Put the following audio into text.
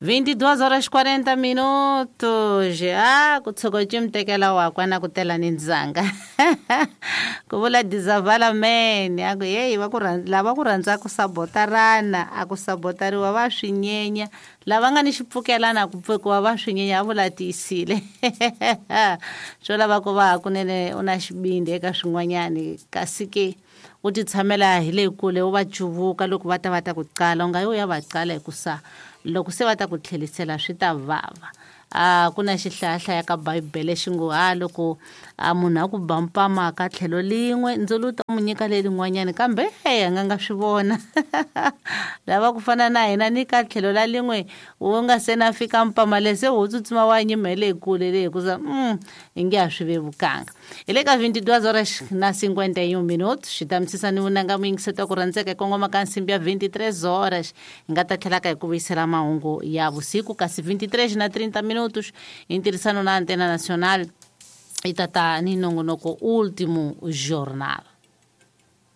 22 horas 40 minutos. Ah, ku tshuka ci mi tekela wakwa na ku tela ni ndzanga. Ku vula Dizavala man, a ku heyi va ku lava ku rhandza ku sabotarana, a ku sabotariwa va swi nyenya, lava nga ni xipfukelana ku pfukiwa va swi nyenya, a vula tiyisile. Swo lava ku va hakunene u na xivindzi eka swin'wanyani, kasi ke u ti tshamela hi le kule u va cuvuka loko va ta va ta ku qala, u nga yi u ya va qala hikusa loko se va ta ku tlherisela swi ta vava. A ku na xihlayahlaya ka Bibele xi ngo ha loko a munhu a ku ba mpama ka tlhelo lin'we ndzulu ta n'wi nyika lerin'wanyani, kambe he a nga nga swi vona. Lava ku fana na hina ni ka tlhelo la lin'we wu nga se na fika mpama le se wu tsutsuma wa nyima hi le kule le hikusa i nge a swi vevukanga. Hi le ka 22 horas na 51 minutos xi ta misisa ni vunanga muyingiseto ku rhandzeka hi kongoma ka nsimbi ya 23 horas hi nga ta tlhelaka hi ku vuyisela mahungu ya vusiku, kasi 23 na 30 minutos hi ntirhisano na Antena Nacional yi ta ta ni nongonoko Último Jornal.